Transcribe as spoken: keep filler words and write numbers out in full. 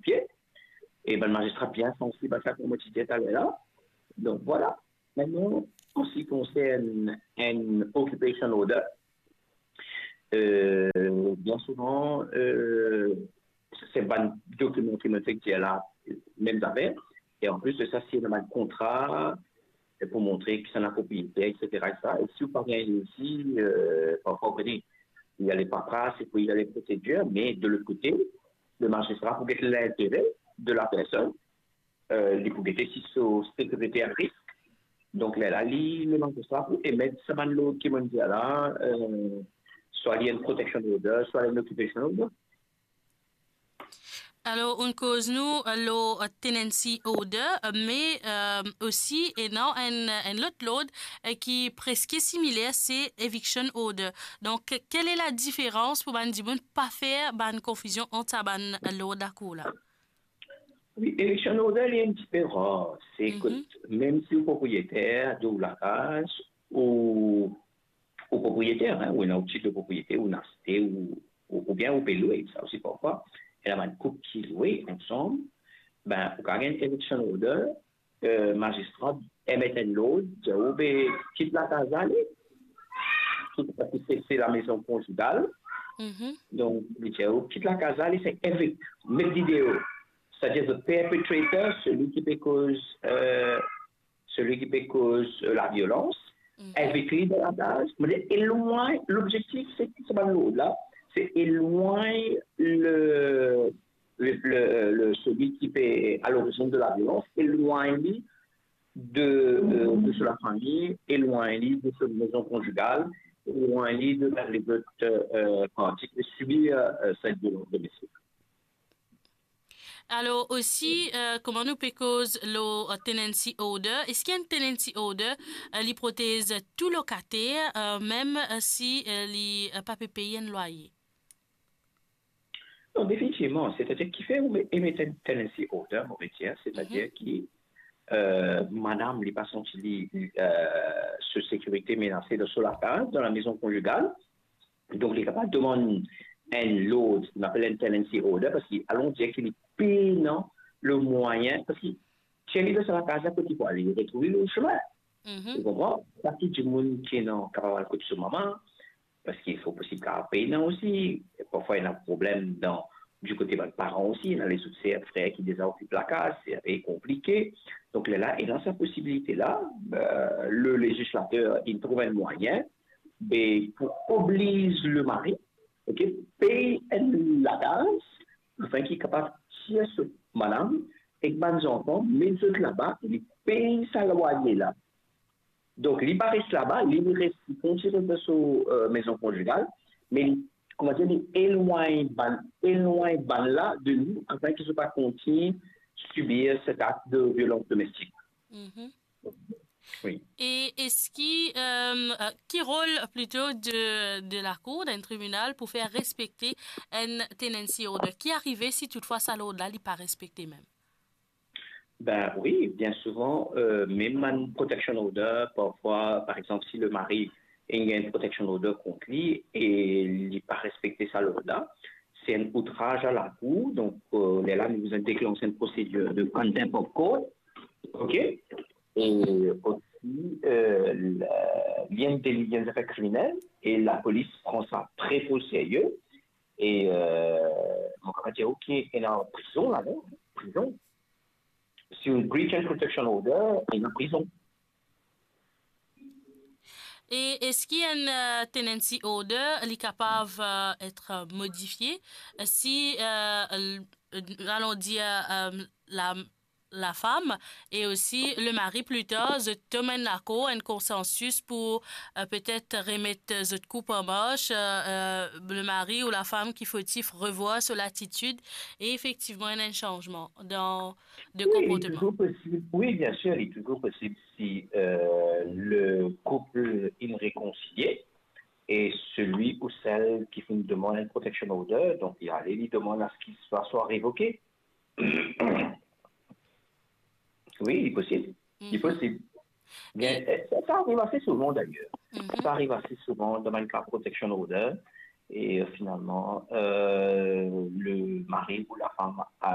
pie. E bann mazistra bien sansib a sa, kouma ti dir taler la. Donk, vwala. Mintnan, an se ki konsern enn occupation order, euh, bien souvan, euh, se bann dokiman ki mo fek dir la, mem zafer. E an plis de sa, si ena bann kontra, euh, pou montre ki sa ena propriyeter, et cetera, et cetera. E si ou pa gagn li osi, euh, parfwa, ou pe dir, il y a les paperasses, et puis il y a les procédures, mais de l'autre côté, le magistrat pou get lintere de la personn, euh, li pou gete si so sekirite a risk. Donk, lerla li, le magistrat pou emet sa bann lord ki mo dir la, euh, swa li enn protection order, swa li enn occupation order. Alor, ou'nn koz nou, euh, lor, euh, tenancy order, euh, me, euh, osi ena enn, enn lot lord, euh, ki preske similer, se eviction order. Donk, quelle est la différence pou bann dimoun pa fer bann konfizion ant sa bann, euh, lord lakour la? Wi, eviction order, li enn tipe rar. Se kot, mem si ou propriyeter de ou lakaz, ou, ou propriyeter, hein, ou ena ou tit de propriete, ou aste, ou, ou, oubien ou pe lwe, sa osi parfwa. Ena bann koup ki lwe ansam, ben, ou kapav gagn eviction order, euh, magistrat emet enn lord, dir ou, be, kit lakaz la, ale. Tou, parski se, se la maison conjugale. Donk, li dir ou, kit lakaz la, ale, se evict, met li deor. Setadir, the perpetrator, seli ki pe koz, euh, seli ki pe koz, euh, laviolans, evict li de lakaz, me elwagn, lobzektif, se ki sa bann lord la, se elwagn le, le, le, le, seli ki pe a lorizinn de laviolans, elwagn li de, euh, de so lafami, elwagn li de so maison conjugale, elwagn li de lezot, euh, parti ki pe sibir, euh, cette violence domestique. Alor osi, euh, kouma nou pe koz lor, euh, tenancy order, eski enn tenancy order, euh, li protez tou lokater, euh, mem, euh, si, euh, li, euh, pa pe pey enn lwaye? Non, definitivman. Setadir ki fer ou emet enn tenancy order, mo pe dir, setadir ki, euh, madam li pa santi li, euh, so sekirite menase dan so lakaz, dan la maison conjugale. Donk, li kapav demann enn lord, nou apel enn tenancy order, parski alon dir ki li pena lemwayin, parski si li dan sa lakaz la, kot li pou ale? Li retrouv li lor sime. Ou konpran? Pa tou dimoun ki ena kapav al kot so mama, parski fo posib ki pena osi. Parfwa, ena problem dan, di kote bann paran osi, ena lezot ser, frer ki deza okip lakaz, se inpe konplike. Donk, lerla, ena sa posibilite la, euh, le lezislater, li trouv enn mwayin, be, pou obliz lemari, ok, pey enn lakaz, afin ki kapav tir so madam ek bann zanfan, met zot laba, e li pey sa lwaye la. Donk, li pa res laba, li, li res, li kontign res dan so, euh, maison conjugale, me li, kouma dir, li elwagn bann, elwagn bann la de li, afin ki zot pa kontign sibir set akt de violans domestik. Wi. E eski, euh, euh, ki rol plito de, de lakour, dan enn tribinal, pou fer respekte enn tenancy order? Ki arive si toutfwa sa lord la, li pa respekte mem? Ben wi, bien souvan, euh, mem bann protection order, parfwa, par exanp, si lemari inn gagn protection order kont li e li pa respekte sa lord la, se enn outraz a lakour, donk, euh, lerla nou bizin deklanse enn prosedir de contempt of court, ok? E osi, euh, la, li enn deli, li enn zafer kriminel, e lapolis pran sa tre, tre o serye, e, euh, mo kapav dir, ok, ena prizon la, non? Prizon. Si ou breach enn protection order, ena prizon. E eski enn, euh, tenancy order, li kapav, euh, et, euh, modifie, euh, si, euh, l-, euh, alon dir, euh, la, lafam e osi lemari, pli tar, zot tom enn lakor, enn konsansis pou, euh, petet remet zot koup an mars, euh, euh, lemari ou lafam ki fotif revwar so latitid e efektivman ena enn sanzman dan de konportman. Wi, li touzour posib. Wi, bien sir, li touzour posib si, euh, le koup inn rekonsilie e seli ou sel ki finn demann enn protection order, donk li ale, li demann a se ki swa, swa revoke. Wi, li posib. Li posib. Bien, euh, sa, sa ariv ase souvan, dayer. Sa ariv ase souvan dan bann ka protection order. E, euh, finalman, euh, lemari ou lafam a